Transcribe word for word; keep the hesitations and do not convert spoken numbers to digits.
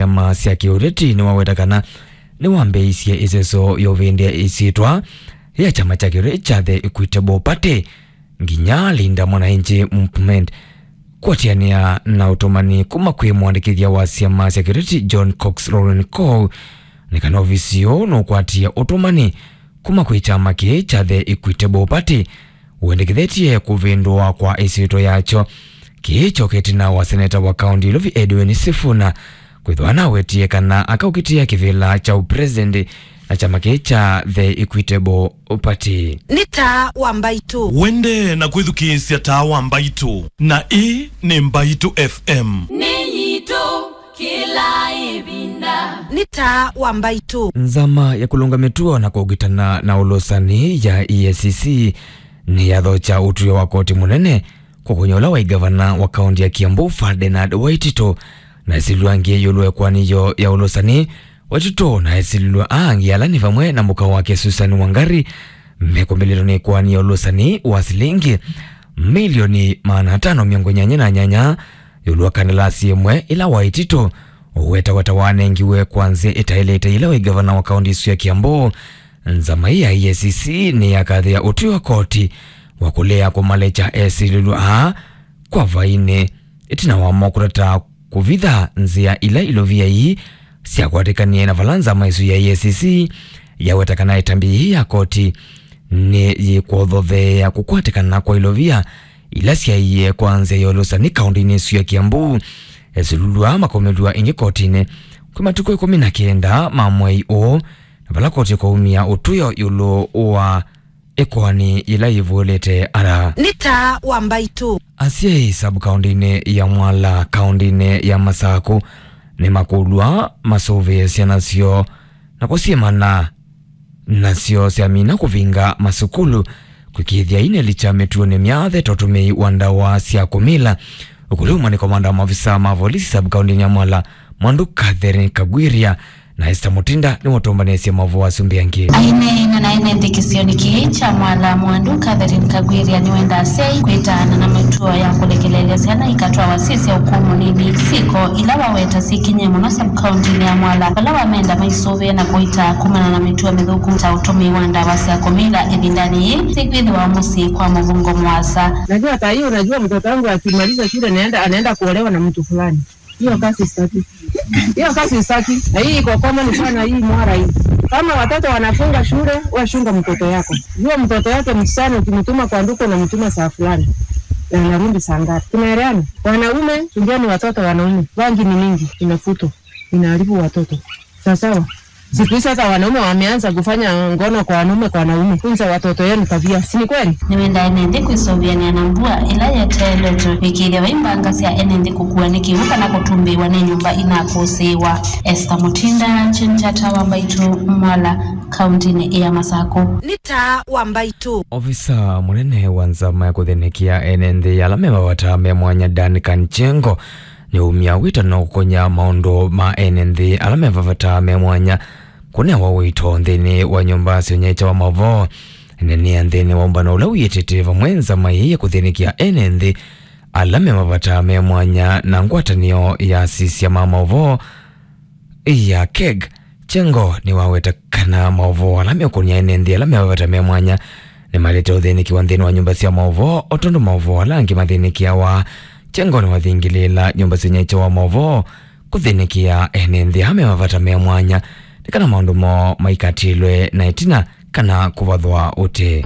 syama sya kĩũteti nĩwaweta kana nĩwambĩĩisye ĩseso ya ũvĩndĩa ĩsyĩtwa ya kyama kya kĩũteti kya The Equitable Party nginya Linda Mwananchi Movement kũatĩanĩa na ũtũmani kuma kwĩ mũandĩkĩthya wa syama sya kĩũteti John Cox Lauren Coe, nĩ kana ovisi ũũ nũkwatie ũtũmani kuma kwĩ kyama kĩĩ kya The Equitable Party wendekethetye kũvĩndũa kwa ĩsyĩtwa yakyo. Kĩĩ kyokete ĩtina wa seneta wa kaũnti Ilovi Edwin Sifuna kwĩthwa nawetie kana akaũkitĩa kĩvĩla kya ũpresident na kyama kĩĩ kya The Equitable Party. Nĩ taa wa mbaitũ. Wende na kwĩthukĩĩsya taa wa mbaitũ, na ĩĩ nĩ Mbaitũ F M. Nĩ yitũ kĩla ĩvinda. Nĩ taa wa mbaitũ. Nzama ya kũlũnga mĩtuo na kũũgitana na ũlũsani ya E A C C nĩyathokya ũtw'ĩo wa koti mũnene kũkũnya ũla waĩ ngavana wa kaũnti ya Kiambu, Ferdinand Waititu, na ĩsilwa angĩ ĩũlũ wa ĩkoani yoo ya ũlũsani. Waititu na ĩsilwa angĩ ala nĩ vamwe na mũka wake Susan Wangari, mekũmbĩlĩtwe nĩ ĩkoani ya ũlũsani wa silingi milioni maana atano mĩongo nyanya na nyanya ĩũlũ wa kandalasi ĩmwe ĩla Waititu ũwetaweta wanengiwe kwa nzĩa ĩtaĩlĩte ĩla waĩ ngavana wa kaũnti ĩsu ya Kiambu. Nzama ĩĩ ya E A C C nĩyakathĩa ũtw'ĩo wa koti wa kũlea kũmalekya esilĩlw'a aa kwa vainĩ, ĩtina wamo kũtata kũvitha nzĩa ila ilovia ii syakwatĩkanie na vala nzama ĩsu ya E A C C yaweta kana ĩtambya yĩĩ ya koti nĩyĩkũthotheea kũkwatĩkana kwa ilovia ila syaie kwa nzĩa ya ũlũsani kaũntinĩ ĩsu ya Kiambu. Esilĩlw'a makomĩlw'a ĩngĩ kotinĩ kwĩ matukũ ĩkũmi na kenda ma mwei ũũ, na vala koti ĩkaumya ũtw'ĩo ĩũlũ wa ĩkoani yĩla yĩvũĩlĩte ara. Nĩ taa wa mbaitũ. Asyai sub-kaũntinĩ ya Mwala, kaũntinĩ ya Masaku, nĩmakũlw'a masũvĩe syana syoo na kũsyĩmana nasyo syamina kũvinga masukulu, kwĩkĩĩthya ineli kya mĩtuonĩ myathe ta ũtũmĩi wa ndawa sya kũmila. Ũkũlyo uma nĩ komanda wa maofisa ma volisi sub-kaũntinĩ ya Mwala, Mwandu Catherine Kagwiria, na Esther Mutinda nĩwatũmbanĩsye maũvoo asu mbee angĩ. Aineena na ene nthĩ kĩsionĩ kĩĩ kya Mwala, Mwandu Catherine Kagwiria nĩwenda asyai kwĩtaana na mĩtuo ya kũlekelelya syana ikatwawa syĩ sya ũkũũ mũnini. Syĩko ila waweta syĩkinyie mũno sub-kaũntinĩ ya Mwala, vala wamenda maisũvĩe na kũitaa kumana na mĩtuo mĩthũku ta ũtũmĩi wa ndawa sya kũmila ĩvindanĩ yĩĩ syĩkwĩthĩwa mũsyĩ kwa mũvũngo mũasa. Najua saa hii, unajua mtoto wangu akimaliza shule naenda, anaenda kuolewa na mtu fulani. Hiyo kazi sitaki. Hiyo kazi sitaki. Na hii iko common sana hii Mwala hii. Kama watoto wanafunga shule, wewe chunga mtoto yako. Jua mtoto yake msichana ukimtuma kwa duka unamtuma saa fulani. Na anarudi saa ngapi? Tunaelewana? Wanaume, chungeni watoto wanaume. Bangi ni mingi, inafutwa. Inaharibu watoto. Sawa sawa. Siku hizi hata wanaume wameanza kufanya ngono kwa wanaume kwa wanaume. Funza watoto yenu tabia. Si ni kweli? Nĩwendaa ene nthĩ kwĩsũvĩanĩa na mbua ĩla yeteeletwe, kwĩkĩĩthya vai mbanga sya ene nthĩ kũkua nĩ kĩw'ũ kana kũtumbĩĩwa nĩ nyũmba inakũsĩĩwa. Esther Mutinda, Chinchata wa Mbaitũ, Mwala, kaũntinĩ ya Masakũ. Nĩ taa wa Mbaitũ. Ovisa mũnene wa nzama ya kũthĩnĩkĩa ene nthĩ ala me mavata me mwanya, Duncan Chengo, nĩumya wĩtano kũkonya maũndũ ma ene nthĩ ala me mavata me mwanya kũnewa ũito nthĩnĩ wa nyũmba sya ũnyaĩĩkya wa maũvoo. Ĩneenea nthĩnĩ wa ũmbano ũla wĩtĩte vamwe nzama ĩĩ ya kũthĩnĩkĩa ene nthĩ ala me mavata me mwanya na ngwatanĩo ya asisya ma maũvoo ya keg, Chengo nĩwaweta kana maũvoo ala meũkũnĩa ene nthĩ ala me mavata me mwanya nĩmaĩlĩte ũthĩnĩkĩwa nthĩnĩ wa nyũmba sya maũvoo o tondũ maũvoo ala angĩ mathĩnĩkĩawa. Chengo nĩwathingĩlĩĩla nyũmba sya ũnyaĩĩkya wa maũvoo kũthĩnĩkĩa ene nthĩ ala me mavata me mwanya nĩ kana maũndũ moo maikatĩlwe na ĩtina kana kũvathwa ũtee.